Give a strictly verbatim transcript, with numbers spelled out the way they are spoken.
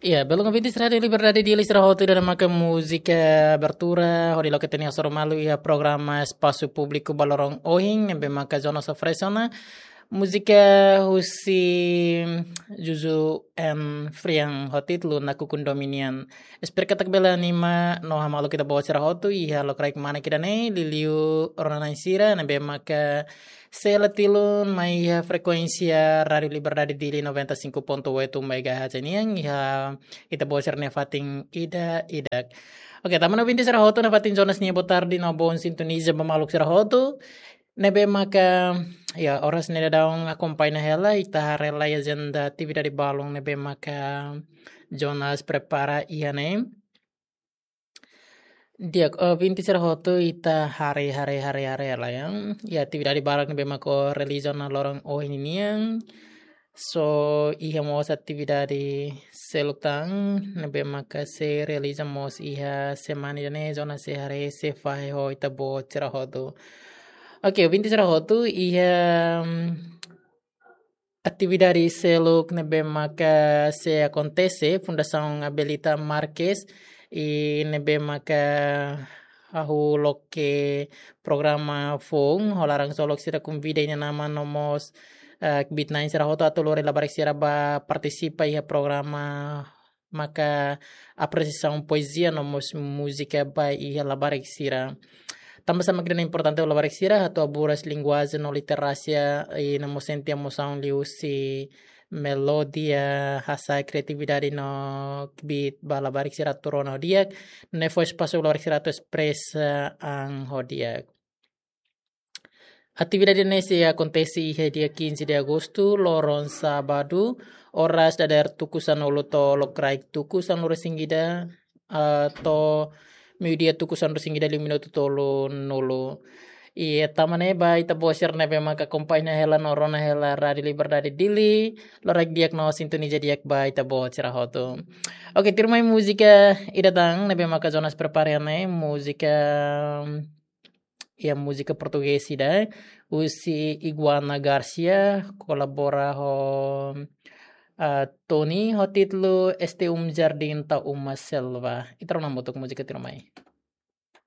Ya, belun ouvintes Rádiu Liberdade Dili sira hotu, ida-ne'e maka múzika abertura hodi loke ita-nia hasoru malu iha programa Espasu Públiku ba loron ohin, ne'ebé maka Jonas oferese ona múzika husi Juju and Frian ho títulu Nakukun Domin nian. Espera katak bele anima no hamaluk ita-boot sira hotu iha lokraik manek ida-ne'e, liuliu rona-na'in sira ne'ebé maka sei hela tilun mai iha frekuénsia Rádiu Liberdade Dili noventa e cinco ponto oito megahertz nian iha ita-boot sira-nia fatin ida-idak. Oke, tama ona ouvintes sira hotu, nafatin Jonas nia boa tarde no bom sintoniza ba maluk sira hotu. Ne'ebé maka, ya, oras ne'e daudaun akompaña hela, ita haree lai ajenda atividade balun ne'ebé maka Jonas prepara iha ne'e. Di'ak, ouvintes sira hotu, ita haree, haree, haree, haree lai, ya. Ya, atividade barak ne'ebé maka realiza ona loron ohin nian. So, iha mós atividade seluk tan ne'ebé maka sei realiza mós iha semana ida-ne'e, Jonas sei haree, sei fahe ho ita-boot sira hotu. Oke, ouvintes sira hotu, iha, mm, atividade seluk ne'ebé maka sei akontese, Fundasaun Abelita Marques, i ne'ebé maka hahú loke programa foun, ho laran-solok sira konvida inan-aman no mós, eh, kbiit-na'in sira hotu atu lori labarik sira ba partisipa iha programa maka apresiasaun poezia no mós múzika ba iha labarik sira. Tanba sá mak ida-ne'e importante ba labarik sira, atu haburas linguajen no literasia, i no mós sente emosaun liuhusi melodia, hasa'e kriatividade no kbiit ba labarik sira atu rona ho di'ak, ne'e fó espasu ba labarik sira atu espresa an ho di'ak. Atividade ne'e sei akontese iha dia quinze de agosto, loron sábadu, oras dadeer tuku sanulu to'o lokraik tuku sanulu-resin-ida, ah, to'o meiudia tuku sanulu-resin-ida liu minutu tolunulu. I tama ne'e ba ita-boot sira ne'ebé maka akompaña hela no rona hela Rádiu Liberdade Dili, lokraik di'ak no sintoniza di'ak ba ita-boot sira hotu. Oke, tuirmai múzika ida tan ne'ebé maka Jonas prepara ne'e, múzika, ya, múzika portugés ida, husi Iguana Garcia, kolabora ho, ah, Tony, ho títulu Este um Jardim, Tão uma Selva. Ita rona hamutuk múzika tuirmai.